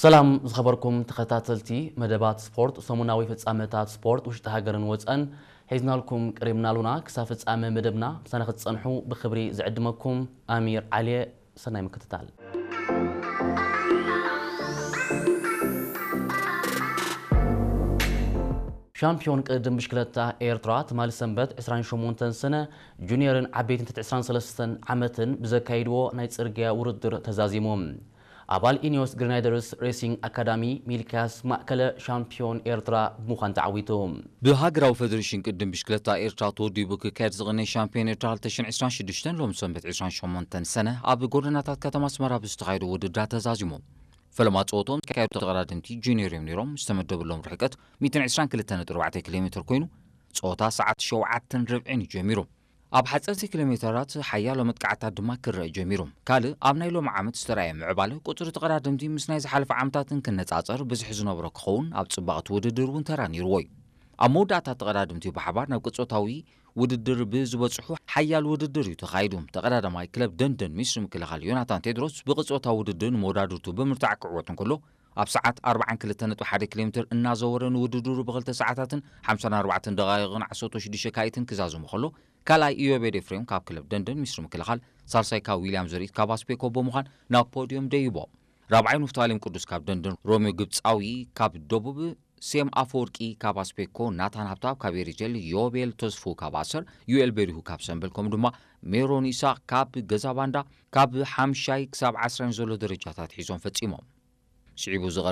ሰላም ዝኸበርኩም ተኸታተልቲ መደባት ስፖርት፣ ሰሙናዊ ፍጻመታት ስፖርት ውሽጢ ሃገርን ወጸን ሒዝናልኩም ቀሪብና ኣሉና። ክሳብ ፍጻመ መደብና ምሳና ክትጸንሑ ብኽብሪ ዝዕድመኩም ኣሚር ዓልየ። ሰናይ ምክትታል። ሻምፒዮን ቅድድም ብሽክለታ ኤርትራ ትማሊ ሰንበት ዕስራን ሸሞንተን ሰነ ጁኒየርን ዓበይትን ትሕቲ ዕስራን ሰለስተን ዓመትን ብዘካይድዎ ናይ ጽርግያ ውድድር ተዛዚሙ። ኣባል ኢኒዮስ ግሪናይደርስ ሬሲንግ ኣካዳሚ ሚልክያስ ማእከለ ሻምፒዮን ኤርትራ ብምዃን ተዓዊቱ። ብሃገራዊ ፈደሬሽን ቅድድም ብሽክለታ ኤርትራ ተወዲቡ ክካየድ ዝቕነይ ሻምፒዮን ኤርትራ ክልተ ሽሕን ዕስራን ሽዱሽተን ሎሚ ሰንበት ዕስራን ሸሞንተን ሰነ ኣብ ጎደናታት ከተማ ኣስመራ ብዝተኻየዱ ውድድራት ተዛዚሙ። ፈለማ ጸወቶም ዝካየዱ ተቐዳደምቲ ጁኒየር እዮም ነይሮም። ዝተመደበሎም ርሕቀት ሚእትን ዕስራን ክልተን ነጥቢ ኣርባዕተ ኪሎ ሜትር ኮይኑ፣ ጸወታ ሰዓት ሸውዓተን ርብዒን እዩ ጀሚሩ። ኣብ ሓጸርቲ ኪሎ ሜተራት ሓያሎ መጥቃዕታት ድማ ክረአ ጀሚሩ። ካልእ ኣብ ናይ ሎሚ ዓመት ዝተራእየ ምዕባለ ቁጽሪ ተቐዳደምቲ ምስ ናይ ዝሓለፈ ዓመታት እንክነጻጸር ብዝሒ ዝነበሮ ክኸውን ኣብ ጽባቐ እቲ ውድድር እውን ተራ ነይርዎ እዩ። ኣብ መወዳእታ ተቐዳደምቲ ብሓባር ናብ ቅጾታዊ ውድድር ብዝበጽሑ ሓያል ውድድር እዩ ተኻይዱ። ተቐዳዳማይ ክለብ ደንደን ሚስሪ ምክልኻል ዮናታን ቴድሮስ ብቅጾታዊ ውድድር ንመወዳድርቱ ብምርታዕ ክዕወት እንከሎ ኣብ ሰዓት ኣርባዓን ክልተን ነጥቢ ሓደ ኪሎ ሜትር እናዘወረ ንውድድሩ ብክልተ ሰዓታትን ሓምሳን ኣርባዕተን ደቓይቕን ዓሰርተ ሽዱሽተ ካይትን ክዛዝሙ ከሎ ካልኣይ ኢዮቤድ ኤፍሬም ካብ ክለብ ደንደን ሚስሪ ምክልኻል፣ ሳልሳይ ካብ ዊልያም ዘርኢት ካብ ኣስፔኮ ብምዃን ናብ ፖድዮም ደይቦ። ራብዓይ ንፍታሌም ቅዱስ ካብ ደንደን፣ ሮሚዮ ግብጻዊ ካብ ደቡብ፣ ሴም ኣፈወርቂ ካብ ኣስፔኮ፣ ናታን ሃብታብ ካብ ኤሪቴል፣ ዮቤል ተስፉ ካብ ኣሰር፣ ዩኤል በሪሁ ካብ ሰምበል ከምኡ ድማ ሜሮን ኢሳቅ ካብ ገዛ ባንዳ ካብ ሓምሻይ ክሳብ ዓስራይ ዘሎ ደረጃታት ሒዞም ፈጺሞም። ስዒቡ ዝቐርብ